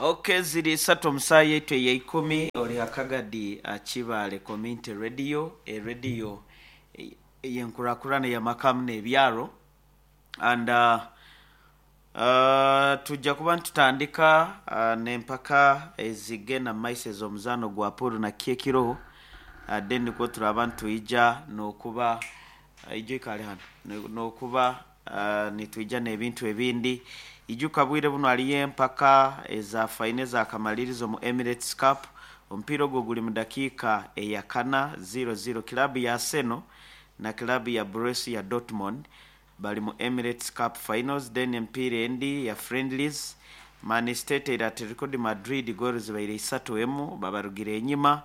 Ok, ziri isatu omu saaha yaitu eyaikumi, ori ha Kagadi Kibaale Community Radio, erediyo ey'enkurakurana ey'amaka hamu n'ebyaro. And tujja kuba nitutandika n'empaka ezigenda mu maiso ez'omuzaano gwa pool na kiki ekiroho, then nikwo turaaba nitwija n'okuba ijo ikaale hanu, n'okuba nitwija n'ebintu ebindi. Ijuka bwire bunu hariyo empaka eza faino ezakamalirizo omu Emirates Cup. Omupiira ogwo guri mu dakiika eyakana, ziro ziro. Kiraabu ya Arsenal na kiraabu ya Borussia Dortmund bari mu Emirates Cup finals. Then emipiira endi ya friendlies, Man City eteire Atletico de Madrid goolo zibaire isatu emu babarugire enyima.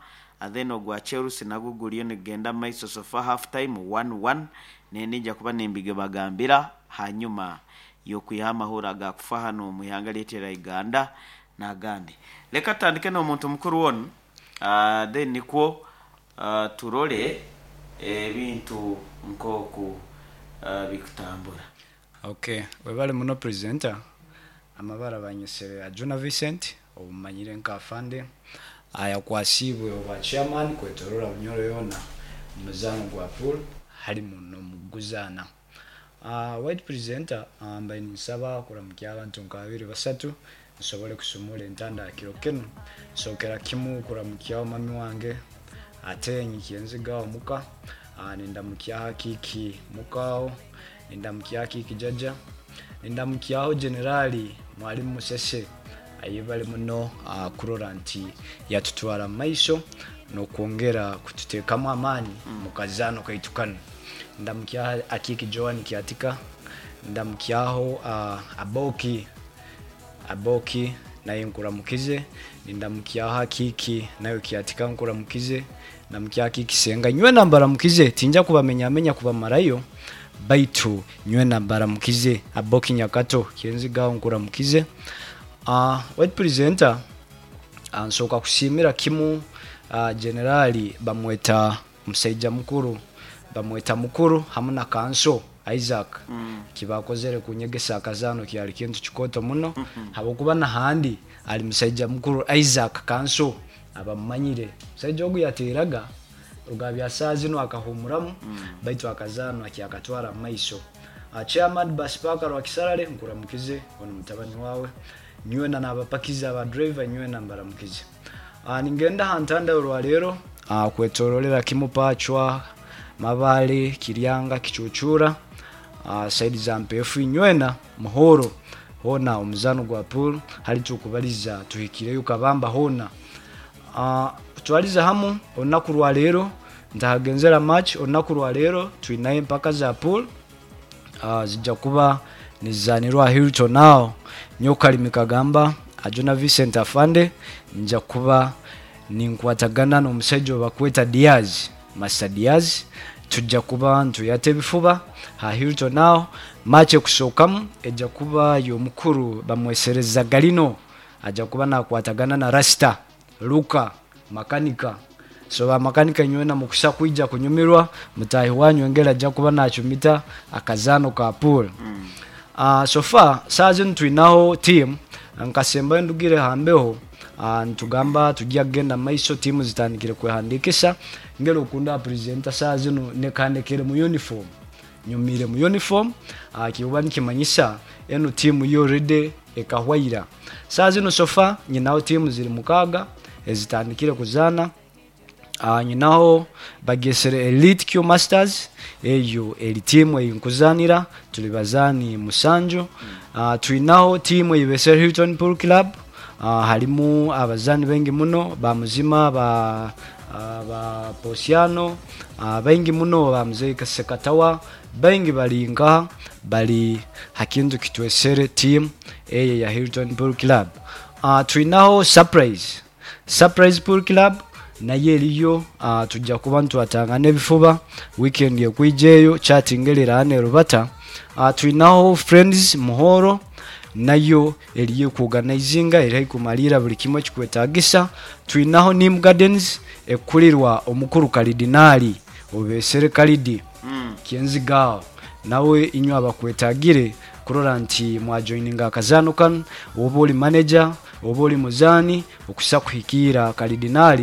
Then ogwa Chelsea nagwo guriyo nigugenda mu maiso so far half time 1-1. Nindi nja kuba nimbigibagambira hanyuma y'okwihaho amahurre agakufa hanu omu ihanga ryaitu erya Uganda n'agandi. Leka tutandike n'omuntu mukuru onu then nikwo turole ebintu nk'oku bikutambura. Ok, webale muno presenter. Amabara banyesere Ajuna Vincent ou mumanyire nka Afande, ayakwasiibwe obwa chairman kwetorora Bunyoro yoona omu muzaano gwa pool harimu n'omukuguzaana. White presenter, mbaire ninsaba kuramukya abantu nka babiri basatu nsobole kusumura entanda ha kiro kinu. Nsookera kimu kuramukyaho mami wange ate nyikyenzigaho muka, nindamukyaho akiiki mukaaho, nindamukyaho akiiki jaja, nindamukyaho Generali Mwalimu Musese ayebale muno kurora nti yatutwara mu maiso n'okwongera kututeekamu amaani mu kazaano kaitu kanu. Ndamukyaho akiiki Joan Kyatika, ndamukyaho Aboki, Aboki naye nkuramukize, nindamukyaho akiiki nawe Kyatika nkuramukize, ndamukyaho akiiki Senga, nywena mbaramukize, tinja kubamenyamenya kubamarayo, baitu nywena mbaramukize. Aboki Nyakato Kyenzigaho nkuramukize. White presenter, nsooka kusiimira kimu Generali bamweta musaija mukuru, bamweta mukuru hamu na Kanso Isaac ekibakozere kunyegesa akazaano kyali kintu kikooto muno habwokuba nahandi ali musaija mukuru Isaac Kanso abamumanyire. Omusaija ogu yateeraga ruga bya saaha zinu akahuumuramu baitu akazaano akyakatwara mumaiso. Chairman Bus Park Rwakisarale nkuramukize onu mutabani waawe, nywena n'abapakizi aba driver nywena mbaramukize. Ningenda ha ntanda orwaleero kwetororera kimu Pacwa, Mabale, Kiryanga, Kicucuura, saidi za Mpeefu nywena Muhoro hoona omuzaano gwa pool hali tukubaliza tuhikireyo Kabamba hoona. Kutwaliza hamu olunaku rwaleero ntahagenzera match, olunaku rwaleero twinayo empaka za pool zija kuba nizizanirwa aha Hilton aho. Nyowe Kalimi Kagamba Ajuna Vincent Afande nja kuba ninkwatagana n'omusaija ou bakweta Diaz, Master Diaz, tuja kuba nitweyata ebifuba ha Hilton aho. Match ekusookamu eja kuba y'omukuru bamwesereza Galino, aja kuba nakwatagana na Rasta Luka Makanika. So ba makanika inywena mukusa kwija kunyumirwa, mutaahi wanyu engeri aja kuba nacumita akazaano ka pool. So far saaha zinu twinaho team nkasembayo ndugire ha mbeho nitugamba tugya kugenda mumaiso tiimu zitandikire kwehandikisa ngeri okunda presenter saaha zinu nekandekere mu uniform nyumiire mu uniform kikuba nikimanyisa enu tiimu yo already ekahwa ira. Saaha zinu so far nyinaho tiimu ziri mukaaga ezitandikire kuzaana. Nyinaho bagyesere Elite Q Masters, eyo eri tiimu ei nkuzaanira, turi bazaani musanju. Twinaho tiimu ei beesere Hilton Pool Club, harimu abazaani baingi muno, ba Muzima, ba ba Posiano, baingi muno, ba Muzei Ssekatawa, baingi bari nkaha bari ha kintu kitwesere tiimu eyo eya Hilton Pool Club. Twinaho Surprise. Surprise Pool Club nayo eriyo, tuja kuba nitwatangana ebifuba wiikendi ekwija eyo, chat ngeri eraba nerubata. Twinaho Friends Muhoro nayo eriyo ekuoganaizinga eri haihi kumaliira buli kimwe ekikwetagisa. Twinaho Nim Gardens ekukurirwa omukuru Kalidinaali Obeesere Kalidi Kyenziga aho nawe inywe abakwetagire kurora nti mwajoininga akazaano kanu, woba ori manager, Oba oli muzaani okusa kuhikiira kalidinaali.